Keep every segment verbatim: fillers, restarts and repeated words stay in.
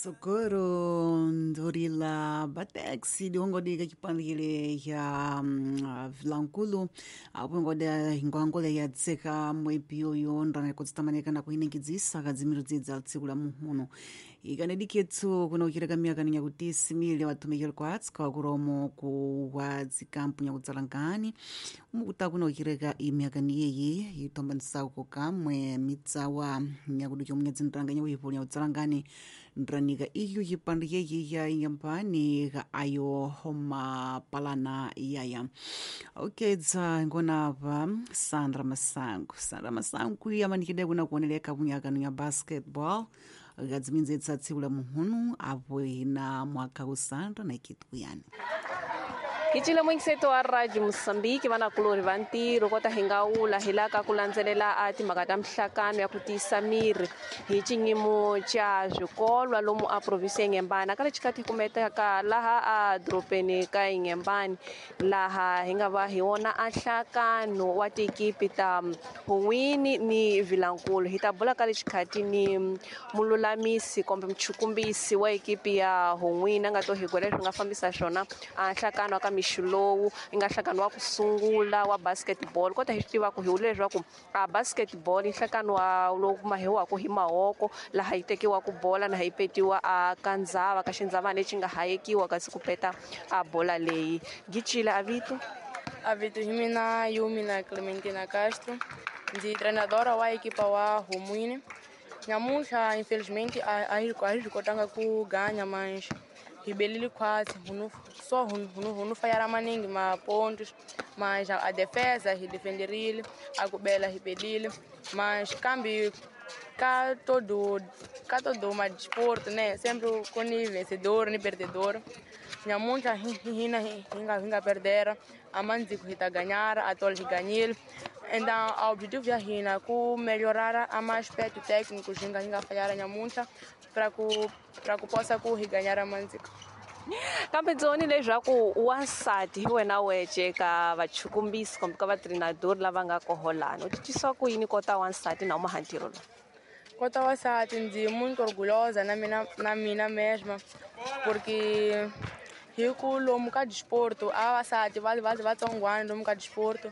Socorro ndorila batex dihongodika chipandikile cha mm, vilankulu apo ingoda ingwangole ya tseka mwepi oyo ndana kutsitamanika kuiningidzisa kadzimiro dzidza tsiku la muhuno ikanediketso kuna uchileka miyaka nyakuti simile watumikile kwa atska wakuromo ku wa dzikampu nyakutsalangani umukuta kuna uchileka imiyakani yeyi itombanisako kamwe mitsawa nyakuti chomwe dzindranganya uyipo nyakutsalangani ndranika iyo chipande yeyi ya inyambani ka ayo homapalana yaya okedza ngonapa Sandra Masango. Sandra Masango yamanikide kuna kuoneleka kunyakano ya basketball kadziminzetsa tsiku la muhunu apo ina mwaka kusandra na ikituyani. Hi cile wa Radio Moçambique vanakulorhi va ntirho kota hi nga wula hi la ka ku landzelela a timhaka ta mihlakano ya ku tiyisa miri hi xinyimo xa swikolwa lomu a province ya Inhambane ka lexi hi kumetaka laha a dorobeni ka Inhambane laha hi nga va hi wona a nhlakano wa tikipi ta Hun'wini ni Vilankulu. Hi ta bula ka lexikhathi ni mululamisi kumbe muchukumbisi wa ekipi ya Hun'wini a nga to hi gwela leswi nga fambisa swona a nhlakano ka mixo lowu yi nga nhlakano wa ku sungula wa basketball. Kota hi swi tiva ku hi wule leswaku a basketball i nhlakano wa lowu mahiwaka hi mahoko laha yi tekiwaka bola na hi petiwa a ka ndzava ka xindzavana lexi nga hayekiwa kasi ku peta a bola leyi. Gicile a vito a vito hi mina Yumina Clementina Castro, ndzi treinadora wa ekipa wa Humwini. Nyamuntlha infelizmente a a hi a hi swi kotanga ku ganya mas hi belile quase hunu só hunu hunu hunu falhar maningi ma pontos, mas a, a defesa hi defenderile, a kubela hi belile, mas kambe ka todo ka todo uma desporto, né, sempre com vencedor ni perdedor. Nyamuntlha hi hina hi nga hi nga perdera, a mandziko hi ta ganhar, a tol hi ganhile. Então, o objetivo ya hina ku melhorar a mais aspecto técnico hi nga hi nga falhar nyamuntlha para ku para ku possa ku hi ganhar a mandziko. Kambe ndzoni leswaku wansati hi wena wece ka vachukumbisi kumbe ka vatreinador lava nga koholana u titwisa ku yini kota wansati na uma ntirho lowu? Kota wansati ndzi muito orgulhosa na mina na mina mesma porque hi ku lomu ka desporto a vavasati va va vatsongwana lomu ka desporto.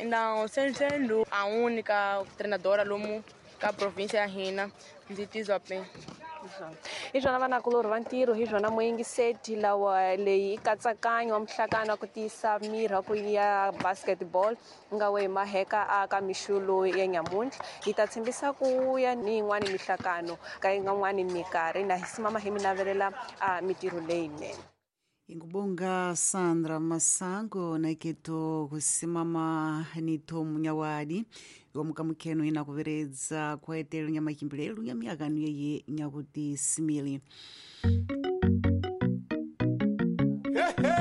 Então, sendo a única treinadora lomu ka província ya hina, ndzi tizwa bem. Hi swona vanakulorhi va ntirho, hi swona muyingiseti lawa leyi i katsakanyo wa mihlakano wa ku tiyisa miri wa ku ya basketball nga we hi maheka a ka mixo lowu ya nyamuntlha. Hi ta tshembisa ku ya ni yin'wani mihlakano ka yin'wani minkarhi na hi simama hi mi navelela a mitirho leyinene. Ingubonga Sandra Masango naiketo kusimama nito munyawadi yomukamukeno ina kuveredza kwaetelo nyamachimbelelo nyamiyakano yeye nyakuti simili.